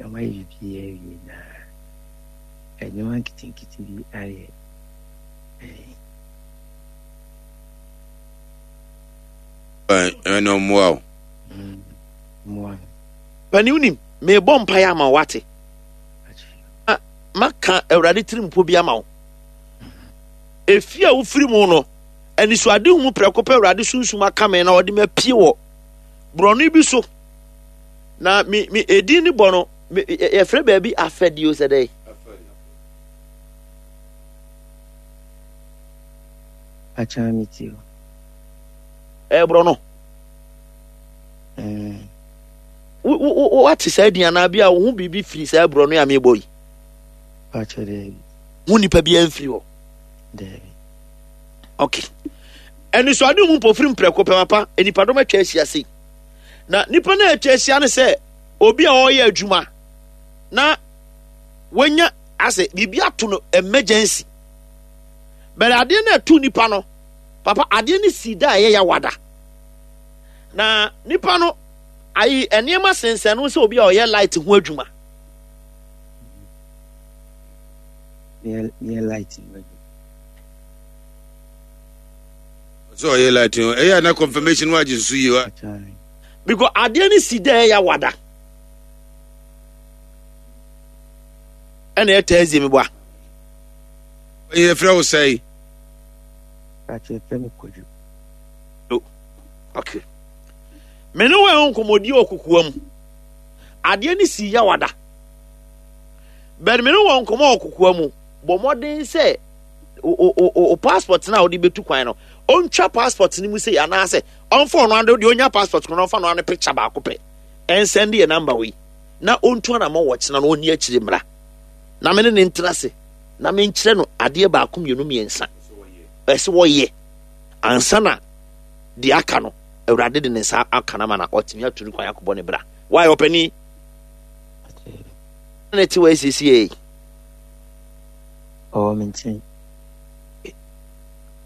Wɔayɛ biribiara awie na nneɛma nketenkete bi ayɛ. Ɛna ɔmmoa wo. Mmoa me. Pani wonim, mebɔ mpaeɛ ama wo wate. Maka Awurade tirimpo bi ama wo. Efie a wofiri mu no, anisoadehu mu prɛko pɛ Awurade sunsum aka me na ɔde me apue wɔ borɔno bi so. Na me me edin ne bɔ no, me yɛfrɛ baabi afɛdeɛ o sɛ dɛ. Akyɛ me ti o. Ɛyɛ borɔno. Wo wo wate saa din anaa bi a wo ho biribi firi saa borɔno a mebɔ yi? Akyɛ dɛ. Wo nipa bi amfiri hɔ. Daabi. Okay. Anisoade mu mpofirim prɛko pɛ papa, nnipadɔm atwa ahyia sei. Na nipa no a atwa ahyia no sɛ obi a ɔreyɛ adwuma na wanya asɛ biribi ato no emergency. Bɛrɛ adeɛ no ɛto nipa no, papa adeɛ no si da a ɛyɛ yawada. Na nipa no ayi nneɛma sensɛn no sɛ obi a ɔyɛ light ho adwuma. Yɛ light ho adwuma. Sɛ ɔyɛ light no ɛyɛ na confirmation wa gye so yie wa. Because adeɛ no si dɛ ɛyɛ wada. Ɛna ɛyɛ Thursday mi bɔ a. Ɛyɛ frɛ wo sɛe. Kakyɛ fɛ mi kɔdwo. Okay. Me ne wɔn ɛho nkɔmɔdi wɔ kokoa mu. Adeɛ no si yɛ wada. Bɛn me ne wɔn nkɔmɔ wɔ kokoa mu. Bɔ mmɔden sɛ o passport no a wode bɛtu kwan no ɔntwa passport no mu sei anaasɛ ɔmfa ɔno ade deɛ ɔnya passport no ɔmfa no ano picture baako pɛ ɛnsɛn de yɛ number wei na ɔntu anamɔ wɔ kyena no ɔnni akyire mmra na me ne ne ntena ase na menkyerɛ no adeɛ baako mmienu mmiɛnsa ɛsɛ wɔyɛ ansa na deɛ aka no awurade de ne nsa aka no ama na ɔtumi atu no kwan akɔbɔ ne bra waayɛ ɔpani ne te wɔ asiesie Ɔwɔ me nkyɛn.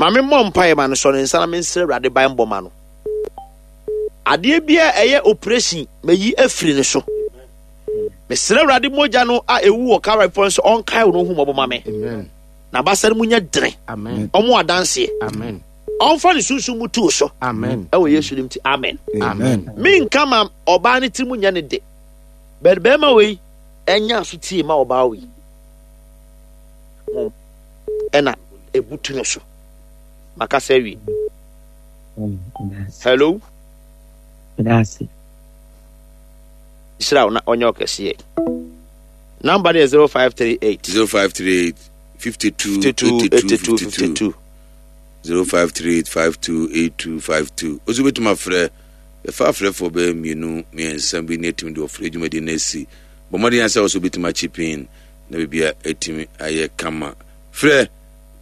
Ma me mmɔ mpaeɛ ma no, sɔ ne nsa na mensrɛ Awurade banbɔ ma no. Adeɛ biara ɛyɛ operation mayi afiri ne so. Mesrɛ Awurade mogya no a ɛwu wɔ Calvary pɔ nso ɔnkae wo no hu mmɔbɔ ma me. Na abasa no mu nyɛ dene. Ɔmo adanseɛ. Ɔmfa ne sunsum mu tu so. Ɛwɔ Yesu dim ti amen. Menka ma ɔbaa ne tiri mu nyɛ ne de. Bɛrima bɛrima wei ɛnya aso tie ma ɔbaa wei. ho ɛna ebutu no so makasa awie hello hyira wo na ɔnyɛ ɔkɛseɛ number no yɛ 0538 0538 52 82 52 52 0538 52 82 52 osu bɛtumi afrɛ yɛfa afrɛfoɔ bɛyɛ mmienu mmiɛnsa bi ne atumi de ɔfrɛ dwumadi no asi bɔ mmɔden asɛ wɔ so wobɛtumi akyi pin na biribiara atumi ayɛ kama. Frɛ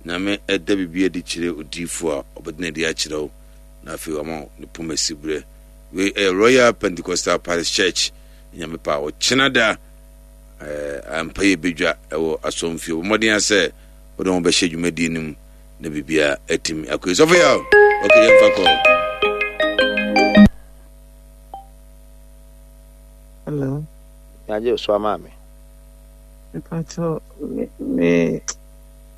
Nyame ɛda biribi adi kyerɛ odiyifoɔ a ɔbɛda no adi akyerɛ wo na afei wama wo ne poma siberɛ. Wei ɛyɛ Royal Pentecostal Parish Church. Nyame pa ɔkyena da ampa yɛ bɛdwa ɛwɔ asɔmfie. Bɔ mmɔden asɛ wode ho bɛhyɛ dwumadie no mu na biribiara atumi akɔ yie. Sɔfo yɛ okay yɛmfa kɔ. Hello. Yagye so ama me. Mepakyɛw, me me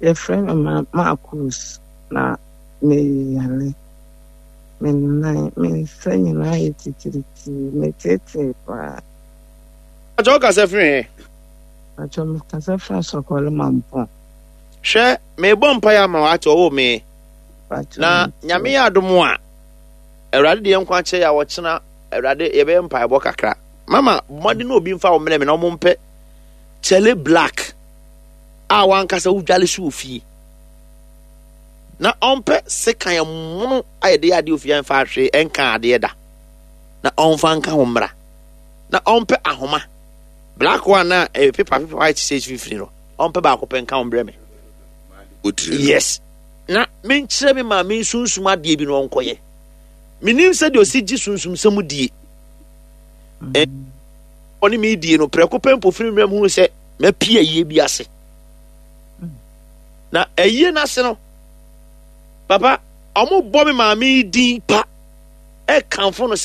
yɛfrɛ me ma Marcus na meyare. Me nan, me nsa nyinaa yɛ titiritii, meteetee paa. Pakyɛ wo kasa firi he? Pakyɛ me kasa firi Asɔkɔre Mampɔn. Hwɛ, meebɔ mpaeɛ ama wo ate ɔwoo me. Na Nyame yɛ adom a, Awurade de yɛn nkwa kyɛ yɛ a ɔkyena Awurade yɛbɛyɛ mpaebɔ kakra. Mama, bɔ mmɔden na obi mfa wo mmerɛ me na ɔmo mpɛ kyɛle black a wankasa wodwale so wɔ fie na ɔmpɛ sekan ɛmono a yɛde yɛ adeɛ ofie ɛmfa ahwee ɛnka adeɛ da na ɔmfa nka ho mmra na ɔmpɛ ahoma black one na ɛyɛ pepa pepa white sɛ mfimfini no ɔmpɛ baako pɛ nka ho mbrɛ me yes na menkyerɛ me maame nsunsum adeɛ bi na ɔnkɔyɛ menim sɛdeɛ ɔsi gye sunsumsɛm die ɔne me die no prɛko pɛ mpofirim mmerɛ mu hunu sɛ mapie ayie bi ase na ayie no ase no papa ɔmo bɔ me maame yi din pa ɛkamfo no sɛ.